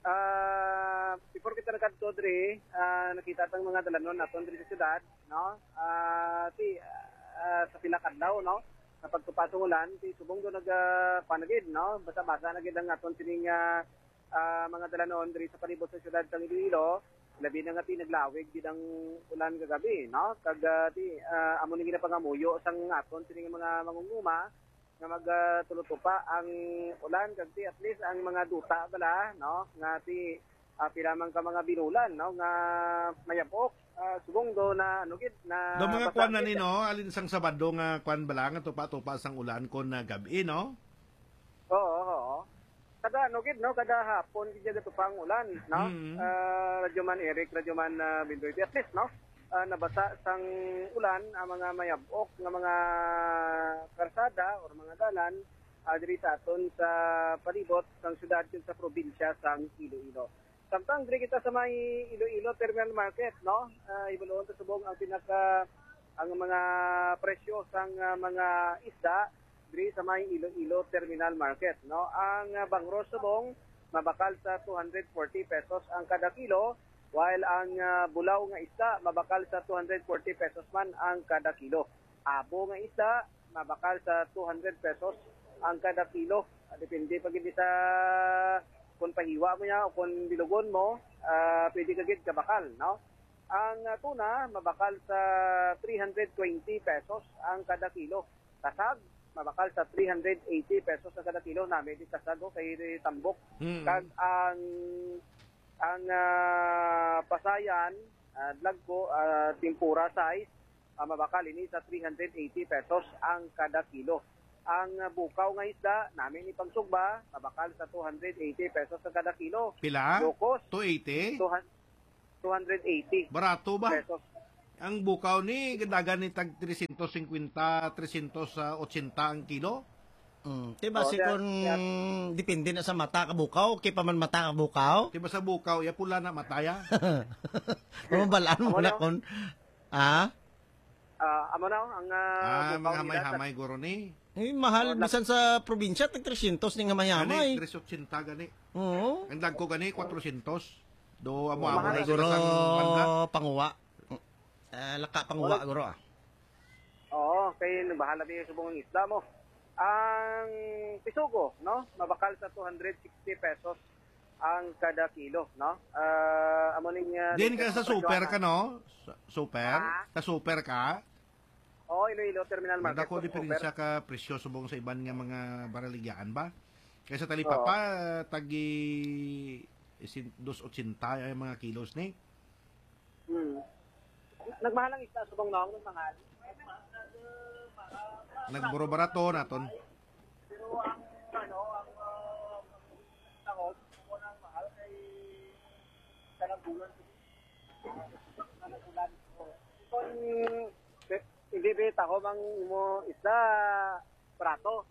Ah, before kita nagkadto diri, ah, nakita tang mga dalanon naton diri sa syudad, no? Ah, ti, ah, sa pila ka adlaw, no? Sa pagtupa sang ulan, ti subong do nag, ah, kuwan na gid, no? Basa-basa na gid ang aton sining, ah, ah, mga dalanon diri sa palibot sa siyudad sang Iloilo, labi na nga ti naglawig gid ang ulan kagabi, no? Kag, ah, ti, ah, amo ni ginapangamuyo sang aton sining mga mangunguma nga mag, ah, tulutupa ang ulan, kag ti at least ang mga duta bala, no? Nga ti, ah, pila man ka mga binulan, no? Nga mayab-ok, ah, subong do na, ano gid, na Do mga basa kuwan na gid. ni, no? Alin sang Sabado nga kuwan bala nga tupa-tupa sang ulan kon, ah, gab-i, no? Oo, oo. Kada ano gid, no, kada hapon gid gatupa ang ulan, no? Mm. Ah, Radyoman Eric, Radyoman, ah, Bindoy. At least, no, ah, nabasa sang ulan ang mga mayab-ok nga mga karsada or mga dalan, ah, diri sa aton sa palibot sang syudad kag sa probinsya sang Iloilo. Samtang diri kita sa may Iloilo Terminal Market, no? Ah, hibaluon ta subong ang pinaka, ang mga presyo sang, ah, mga isda diri sa may Iloilo Terminal Market, no? Ang, ah, bangros subong mabakal sa two hundred forty pesos ang kada kilo, while ang, ah, bulaw nga isda mabakal sa two hundred forty pesos man ang kada kilo. Abo nga isda mabakal sa two hundred pesos ang kada kilo. Ah, depende pa gid sa kung pahiwa mo niya o kung bilugon mo, ah, pwede ka gid kabakal, no? Ang, ah, tuna mabakal sa three hundred twenty pesos ang kada kilo. Kasag mabakal sa three hundred eighty pesos ang kada kilo. Nami di kasag, oh, kay tambok. Mm. Kag ang, ang, ah, pasayan, ah, dlagko, ah, tempura size, ah, mabakal ini sa three hundred eighty pesos ang kada kilo. Ang, ah, bukaw nga isda, nami ni pagsugba, mabakal sa two hundred eighty pesos ang kada kilo. Pila? Locos, Two eighty? two hundred, two hundred eighty Barato ba? pesos. Ang bukaw ni, gadagan ni tag trescientos cincuenta, trescientos ochenta ang kilo. Mm. Di ba, Oh, si yeah, kun yeah. depende na sa mata ka bukaw, kay pa man mata ka bukaw? Di ba sa bukaw, ya pula na mataya? Mabalaan mo Amo na na. kun, ah? Ah, amo na, ang, ah, Ah, bukaw mga nila sa hamay-hamay, guro ni. Eh, mahal, Oh, bisan sa probinsya, tag trescientos ning hamay-hamay. Gani, tres ochenta gani. Oo. Ang dagko gani, kwatrocientos. Do, amo, amo Mahal. na Siguro, sila sa banda. panguwa. Ah, laka panguwa, Wala. guro, ah. Oo, kay nagbahala mi subong ang isda mo. Ang pisugo, no? Mabakal sa two hundred sixty pesos ang kada kilo, no? Ah, amo ning, ah, Din ka latest sa na super ka, presyohan. No? Sa super? Ha? Sa super ka? Oo, Iloilo Terminal Market. Madako sa diferensya super. Ka presyo subong sa iban nga mga baraligyaan ba? Kaysa talipapa, Oo. Tagi isin-, dos ochenta ang mga kilos ni. Hmm. Nagmahal ang isda subong noong, nagmahal. Nagburo-barato naton. Pero ang, ano, ang, ah, takot, kung ang mahal kay kanagbulan. Kanagbulan. Kung, hindi ba taho mang imo isda, barato?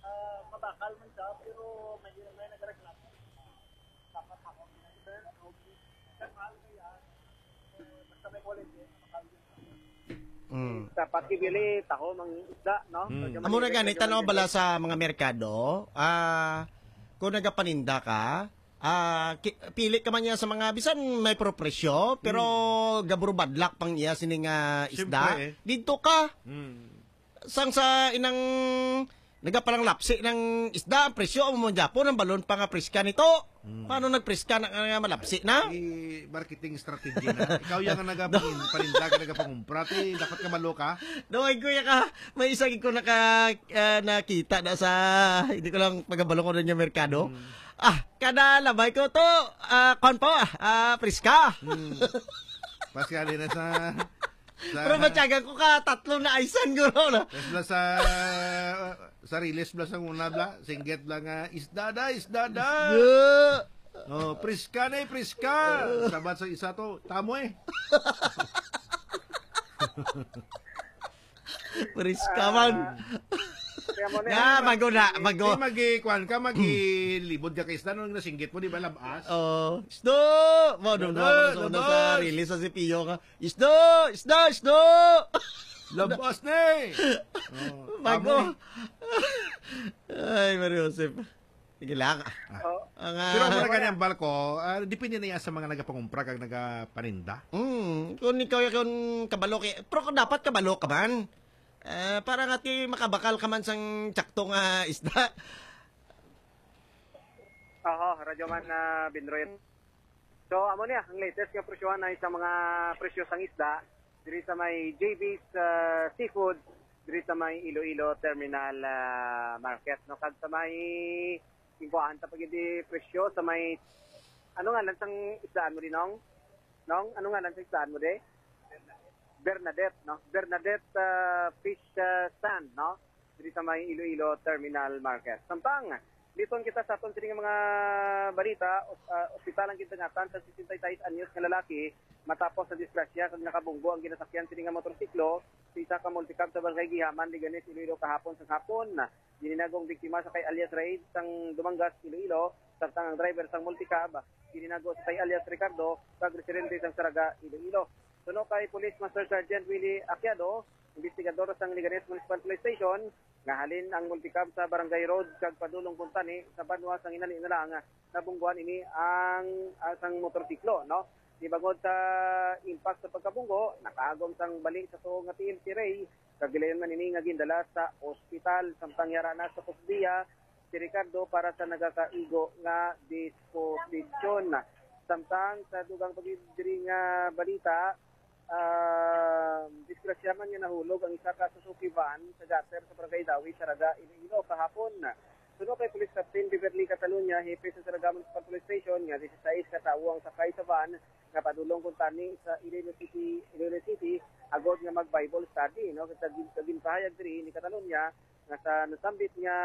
Ah, mabakal man siya, pero may, may nagreklamo. Dapat ako, sir, okay. Sir, mahal kaya, basta may quality, mabakal yun. Mm. Dapat ibili taho mang isda, no? Mm. So, Amo na gani, tanaw bala sa mga merkado, ah, kung nagapaninda ka, ah, ki-, pili ka man niya sa mga, bisan may pro presyo, pero Mm. gaburubadlak pang iya sini nga isda. Siyempre, eh. Didto ka. Mm. Sang sa inang nagapalanglapsi ng isda, ang presyo amo man gyapon, ang balon pa nga priska nito. Hmm. Paano nagpriska na nga malapsi na? I-, marketing strategy na. Ikaw yang nagapangin-, paninda ka, nagapangumpra, ti, dapat ka malo ka. No, ay, kuya ka, may isa gid ko naka, ah, nakita na sa, hindi ko lang pagabalo ko rin yung merkado. Hmm. Ah, kada labay ko to, ah, kwan po, ah, ah, priska. Hmm. Paskali na sa Sa Pero matyagan ko ka, tatlo na aysan, guro, no? Yes, bla sa, sa release, bla sa una, bla. Singgit, bla nga, "Isda da, isda da." Isda. Oh, "Priska na, eh, priska." Sabat sa isa to, "Tamo, eh." Priska man. Ah, kaya mo na Nga, yan, mag-, maguna, mag-, Di magi-, kuwan ka, magilibod ka kay isda, nung nasinggit mo, di ba, labas? Oh, isda! Mo, nung Labas, sa una sa labas. Release sa C P U nga, "Isda! Isda! Isda!" Labas na eh. Oh, Bago. Tamo eh. Ay, Mario Joseph. Sige lang. Ah. Oh. Ang, ah, Pero mura wala. Gani ang balko, ah, depende na yan sa mga nagapangumpra kag nagapaninda. Mm, kung ikaw yung kabalo kay, pero kung dapat kabalo ka man, ah, para nga ti makabakal ka man sang tsakto nga isda. Aha, Radyo Man, ah, Binroy. So, amo niya, ang latest nga presyohan ay sa mga presyo sang isda diri sa may J B's, ah, Seafood, diri sa may Iloilo Terminal, ah, Market, no? Kag sa may, singkuhan ta pa gid di presyo sa may, ano nga lang sang isdaan mo di, Nong? Nong, ano nga lang sang isdaan mo di? Bernadette, no? Bernadette, ah, Fish, ah, Stand, no? Diri sa may Iloilo Terminal Market. Samtang, liton kita sa aton sining mga balita, os-, ah, ospital ang gindangatan sa sesenta y seis anyos nga lalaki matapos sa disgrasya kag nakabunggo ang ginasakyan sini nga motorsiklo sa isa ka multicab sa Barangay Gihaman, Leganes, Iloilo kahapon sa hapon. Gininagong biktima sa kay alias Raid sang Dumangas, Iloilo, samtang ang driver sang multicab gininagong sa kay alias Ricardo, kag residente sang Saraga, Iloilo. Suno kay Police Master Sergeant Willie Aquiado, investigador sang Leganes Municipal Police Station, nga halin ang multicab sa Barangay Road kag padulong kuntani sa banwa sang inali na lang nabungguan ini ang, ah, sang motorsiklo, no? Di bangod sa impact sa pagkabunggo, nakaagom sang bali sa tuo nga T M C Ray, kag gilayon man ini nga gindala sa ospital. Samtang yara na sa kusdiya si Ricardo para sa nagakaigo nga disposisyon. Samtang sa dugang pagid diri nga balita, ah, disgrasya man nga nahulog ang isa ka Suzuki van sa gutter sa Barangay Dawi, Saraga, Iloilo, kahapon. Suno kay Police Captain Beverly Catalunya, hepe sa Saraga Municipal Police Station, nga disisais ka tawo ang sakay sa van nga padulong kuntani sa Iloilo City, Iloilo City, agod nga mag-Bible study, no? Sa gin-, sa ginpahayag diri ni Catalunya nga sa nasambit nga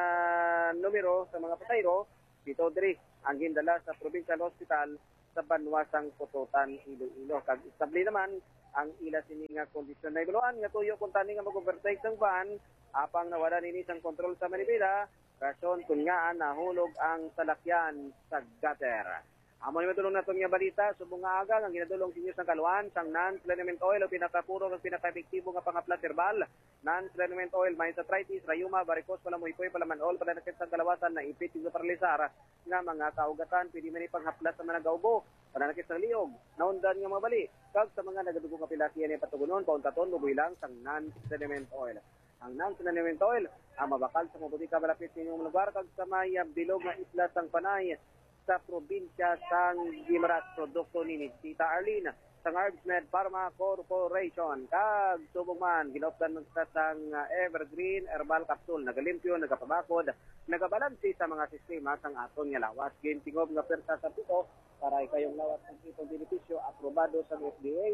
numero sa mga pasahero, pito diri ang gindala sa Provincial Hospital sa banwa sang Pototan, Iloilo. Kag estable naman ang ila sini nga kondisyon. Nahibaluan nga tuyo kuntani nga mag-overtake sang van, apang nawala nini sang kontrol sa manibela, rason kon ngaa nahulog ang salakyan sa gutter. Amo ni madulong naton nga balita, subong nga aga nga ginadulong sa inyo sang kaluan sang non-liniment oil o pinakapuro ug pinakaepektibo nga panghaplas herbal. Non-liniment oil may sa arthritis, rayuma, varicose, palamoypoy, palaman-ol, pananakit sang kalawasan, naipit, ug paralisar nga mga kaugatan. Pwede man ipanghaplas sa managaubo, pananakit sang liog, naundan nga mga bali, kag sa mga nagadugo nga pilakyan, patugunon, pauntaton, luboy lang sang non-liniment oil. Ang non-liniment oil ang mabakal sa mga butika malapit sa inyong lugar kag sa may, ah, bilog nga isla sang Panay sa probinsya sang Guimaras. Produkto ni Tita Arlene sang Herbs Med Pharma Corporation. Kag subong man, ginaupdan man sa sang, ah, Evergreen Herbal Capsule. Nagalimpyo, nagapabakod, nagabalansi sa mga sistema sang aton nga lawas. Gintingob nga pwersa sa pito para ikayong lawas ang itong benepisyo, aprobado sa F D A.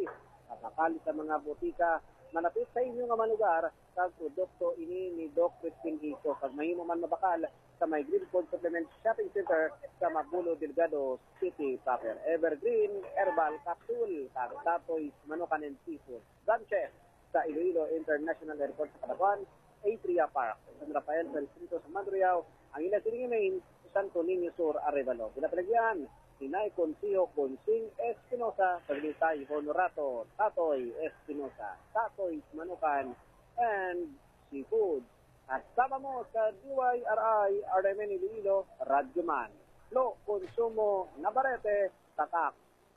Mabakal sa mga butika malapit sa inyo nga mga lugar, kag produkto ini ni Doc Crispin Ito, kag mahimo man mabakal sa may Green Food Supplement Shopping Center sa Mabulo, Delgado City proper. Evergreen Herbal Capsule kag Tatoy's Manukan and Seafood. Branches sa Iloilo International Airport sa Cabanatuan, Atria Park, San Rafael, San Jacinto, sa Mandurriao, ang ila siling main sa Santo Niño Sur, Arevalo. Ginapalagyan ni Nay Consiho Consing Espinosa, kag ni Tay Honorato Tatoy Espinosa, Tatoy's Manukan and Seafood. Kasama mo sa D Y R I R M N Iloilo, Radyo Man, Flo Consumo Navarrete, Tatak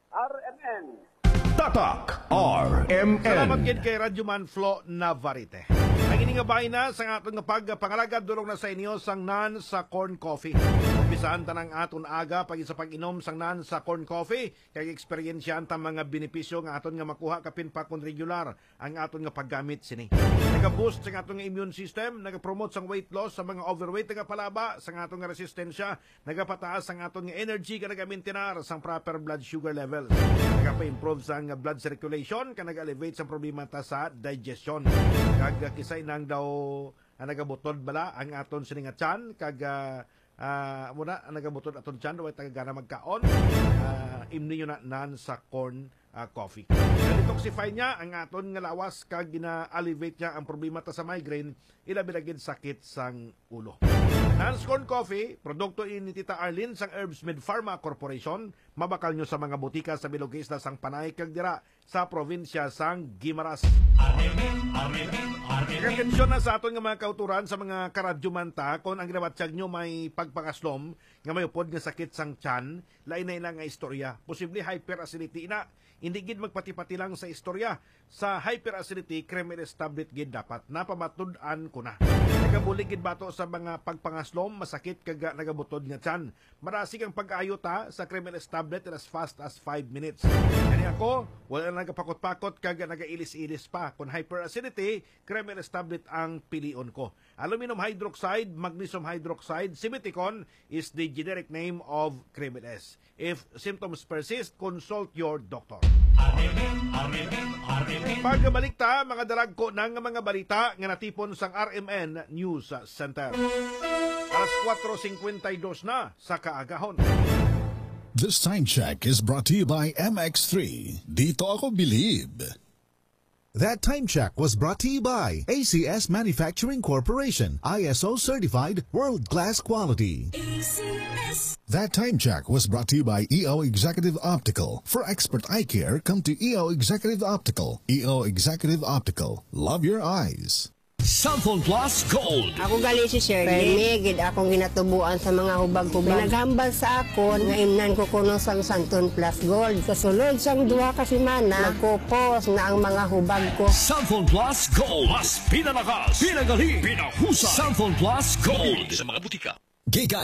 R M N. Tatak R M N. Salamat gid kay Radyo Man Flo Navarrete. Ang ini nga bayna sa aton nga pagpangalagad dulong na sa inyo sang non sa corn coffee. Umpisahan ta ang aton aga pag sa pag-inom sang non sa corn coffee, kay eksperyensyahan ta mga benepisyo nga aton nga makuha kapin pa kon regular ang aton nga paggamit sini. Naga-boost sa aton nga immune system, nagapromote sang weight loss sa mga overweight, nagapalaba sa aton nga resistensya, nagapataas ang aton nga energy, kag nagamintinar sang proper blood sugar level. Nagapa-improve sang blood circulation, kag nag-elevate sang problema ta sa digestion. Kag, ah, kisay nang daw, ah, nagabutod bala ang aton sini nga tiyan, kag, ah, ah, amo na, ang nagabutod aton tiyan, way tagagana magkaon, ah, imni nyo na nan sa corn, ah, coffee. Detoxify niya ang aton nga lawas, kag gina-alleviate niya ang problema ta sa migraine, ilabi na gid sakit sang ulo. Nans Corn Coffee, produkto ini ni Tita Arlene sang Herbs Med Pharma Corporation, mabakal nyo sa mga butika sa bilog nga isla sang Panay kag dira sa probinsya sang Guimaras. Armen, armen, armen. Atensyon na sa aton nga mga kauturan, sa mga karadyoman ta, kon ang ginabatyag nyo may pagpangaslom nga may upod nga sakit sang tiyan, lain na ina nga istorya. Posible hyperacidity ina. Hindi gid magpati-pati lang sa istorya. Sa hyperacidity, Kremel S tablet gid dapat. Napamatud-an ko na. Nagabulig gid bato sa mga pagpangaslom, masakit, kag nagabutod nga tiyan. Marasig ang pag-ayo ta sa Kremel S tablet in as fast as five minutes. Kani ako, wala na nagapakot-pakot kag nagailis-ilis pa. Kung hyperacidity, Kremel S tablet ang pilion ko. Aluminum hydroxide, magnesium hydroxide, simeticone is the generic name of Kremel S. If symptoms persist, consult your doctor. Armen, armen, armen. Pagbalik ta, mga dalagko na nga mga balita nga natipon sang R M N News Center. Alas kuwatro singkwenta y dos na sa kaagahon. This time check is brought to you by M X three. Dito ako bilib. That time check was brought to you by A C S Manufacturing Corporation, I S O certified, world-class quality. A C S. That time check was brought to you by E O Executive Optical. For expert eye care, come to E O Executive Optical. E O Executive Optical. Love your eyes. Cellphone Plus Gold. Ako gali si Shirley. Permi gid akong ginatubuan sa mga hubag-hubag. May naghambal sa akon nga imnan ko kuno sang Santon Plus Gold. Sa sulod sang duha ka semana, nagkupos na ang mga hubag ko. Cellphone Plus Gold. Mas pinalakas, pinagali, pinahusay. Cellphone Plus Gold. Sa mga butika. Gikan